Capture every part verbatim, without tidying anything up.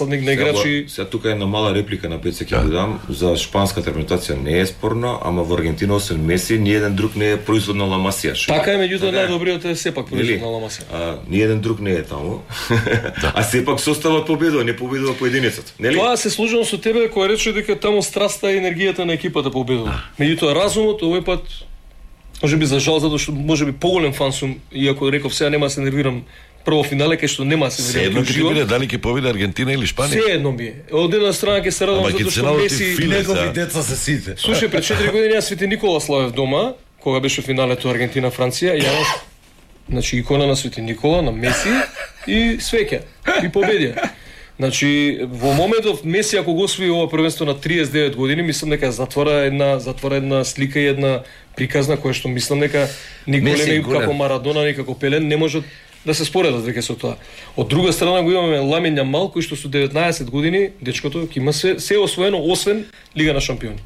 на играчи. Сега тука е една мала реплика на Пеце ќе да дам за шпанската репрезентација не е спорно, ама во Аргентина освен Меси ни еден друг не е производ на Ла Масија. Така е, меѓутоа најдобриот е сепак производ на Ла Масија. А ни еден друг не е таму. А сепак составот победува, не победува поединецот, нели? Тоа се служам со тебе кој рече дека таму страста и енергијата на екипата победува. Меѓутоа разумот овој пат можеби за жал затоа што можеби поголем фан сум, иако реков сега нема се нервирам. Прво финале кај што нема се се едно ќе биде дали ќе победи Аргентина или Шпанија. Се едно ми е. Од една страна ќе се радам затоа што Меси негови деца се сите. Слушај, пред четири години јас Свети Никола славев дома, кога беше финалето Аргентина Франција, јас значи икона на Свети Никола, на Меси и свеќе и победија. Значи во моментов Меси ако го освои ова првенство на триесет и девет години, мислам дека затвора една затвора една слика и една приказна која што мислам дека ни големи како Марадона, ни како Пеле не можат да се споредат веќе со тоа. Од друга страна го имаме Ламин Јамал кој што со деветнаесет години дечкото ќе има се се освоено освен Лига на шампиони.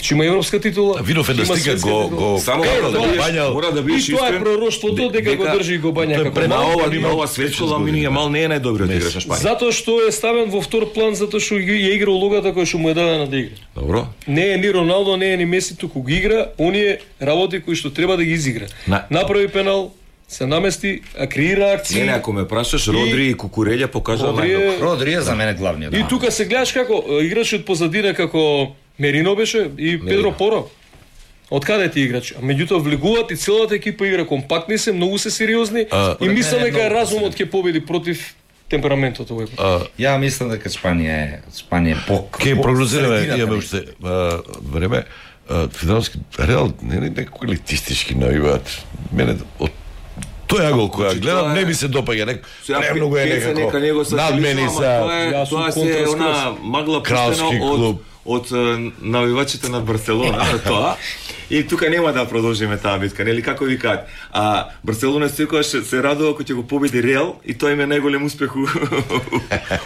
Че има европска титула. Видов е да стига го го само да бањал. Мора да биеш искрен. И тоа е пророштвото дека го држи и го бања како на ова има ова светско Ламин Јамал не е најдобриот играч на Шпанија. Затоа што е ставен во втор план затоа што ја игра улогата која што му е дадена да игра. Добро. Не е ни Роналдо, не е ни Меси, туку ги игра оние работи кои што треба да ги изигра. Направи пенал, се намести, а креира акции. Не, не, ако ме прашаш, Родри и Кукурелја покажа најдобро. Родри е за мене главниот. И тука се гледаш како играчот позадина како Мерино беше и Педро Поро. Од каде ти играчи? А меѓутоа влегуваат и целата екипа игра компактни се, многу се сериозни а, и мислам дека разумот ќе победи против темпераментот овој пат. Ја мислам дека Шпанија е Шпанија е пок. Ке прогнозираме, имаме уште време. Финалски Реал не е некој елитистички наиваат. Мене од тој агол која гледам не ми се допаѓа, нек премногу е некако надмени са. Тоа се она магла пуштена од од навивачите на Барселона, тоа. И тука нема да продолжиме таа битка, нели како викаат. А Барселона секогаш се радува кога ќе го победи Реал и тоа им е најголем успех.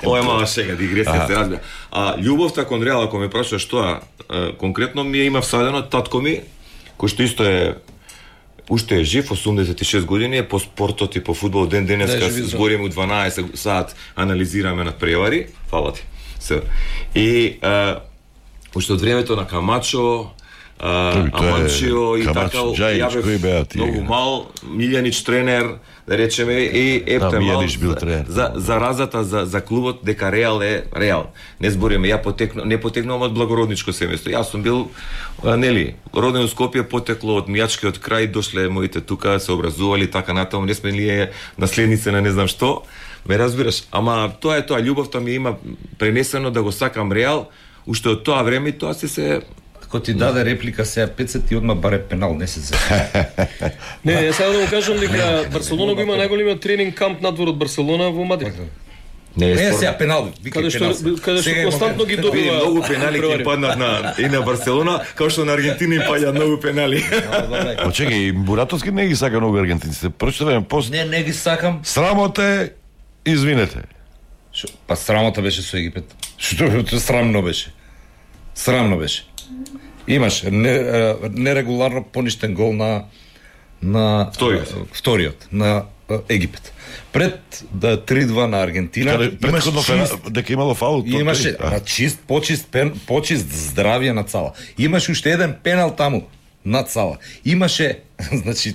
Ова е мала шега, дигресија се разбира. А љубовта кон Реал, ако ме прашуваш тоа, конкретно ми е има всадено татко ми, кој што исто е уште е жив, осумдесет и шест години, е по спортот и по фудбал ден денеска збориме у дванаесет сат, анализираме на превари, фала ти. Се. И уште од времето на Камачо, Аманчио и така, ја бев многу мал, Милјанич тренер, да речеме, и епте мал за заразата за за клубот дека Реал е Реал. Не збориме, ја потекнувам, не потекнувам од благородничко семејство. Јас сум бил нели, роден во Скопје, потекло од мијачкиот крај, дошле моите тука, се образували така натаму, не сме ли наследници на не знам што. Ме разбираш, ама тоа е тоа, љубовта ми има пренесено да го сакам Реал. Уште од тоа време и тоа се се Ако ти даде реплика сега петдесет ти одма баре пенал, не се се. Не, ја сега да го кажам дека Барселона го има најголемиот тренинг камп надвор од Барселона во Мадрид. Не, не сега пенал, каде што каде што константно ги добива. Многу пенали ќе паднат на и на Барселона, како што на Аргентина им паѓаат многу пенали. Очекај, Буратовски не ги сака многу аргентинците. Прочитавам пост. Не, не ги сакам. Срамота е, извинете. Шо, па срамота беше со Египет. Што срамно беше. Срамно беше. Имаш не, нерегуларно поништен гол на на вториот, вториот на Египет. Пред да три-два на Аргентина, предходно дека имало фаул, имаше на чист, почист пен, почист здравје на цала. Имаше уште еден пенал таму на цала. Имаше, значи,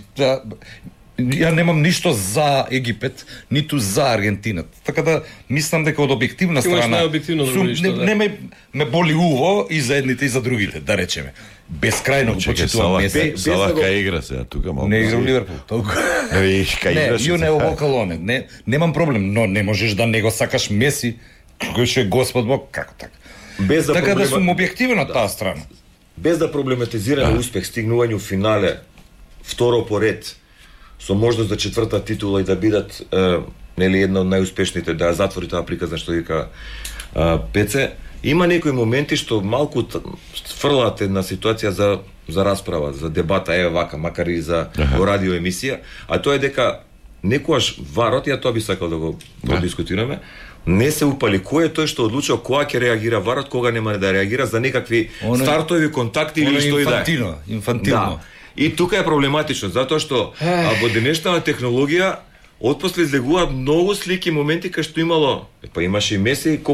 ја немам ништо за Египет, ниту за Аргентина. Така да мислам дека од објективна страна сум, не, не ме, ме боли уво и за едните и за другите, да речеме. Бескрајно го почитувам Меси. Сала кај игра сега тука малку. Не игра во Ливерпул, толку. Не, кај играш. Не, ју не во Калоне. Не, немам проблем, но не можеш да не го сакаш Меси, кој што е Господ Бог, како така. Без да така проблема... да сум објективен од таа страна. Без да проблематизираме да. Успех, стигнување у финале, второ поред, со можност за четврта титула и да бидат е, нели една од најуспешните, да затвори таа приказна што вика е, Пеце. Има некои моменти што малку фрлаат една ситуација за за расправа, за дебата, е вака, макар и за во радио емисија, а тоа е дека некојаш варот, ја тоа би сакал да го продискутираме, не се упали кој е тој што одлучува кога ќе реагира варот, кога нема да реагира за некакви оно, стартови контакти или што и да е. Инфантилно, инфантилно. Да. И тука е проблематично, затоа што а, во денешната технологија отпосле излегуваат многу слики, моменти кај што имало, па имаше и Меси и